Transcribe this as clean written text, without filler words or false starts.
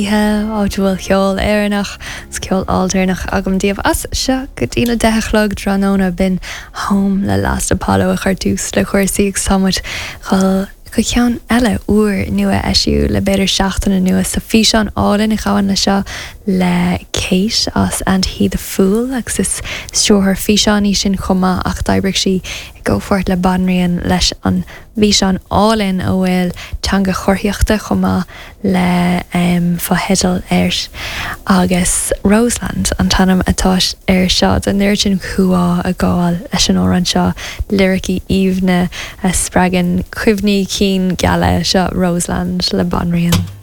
Oíche, áit a bhfuil ceol Éireannach agus ceol aildéarnach agam daoibh as seo go dtí na 10 a chlog tráthnóna. B'in Home le Last Apollo a chuir tús le cúrsaí agus tá muid dhul go ceann eile úr nua eisíodh le b'fhéidir seachtain anuas. Tá físeán álainn a ghabhann le seo le Kate as And He The Fool agus is stiúrthóir físeán í sin chomh maith ach d'oibrigh sí i gcomhpháirt le Banríon leis an bhfíseán álainn a bhfuil teanga chomharthaíochta chomh maith le fotheidil air agus Roseland an t-ainm atá air seo. Tá an oiread sin cumhá ag gabháil leis an amhrán seo, liricí aoibhne a spreagann cuimhní cinn geala. Seo Roseland le Banríon.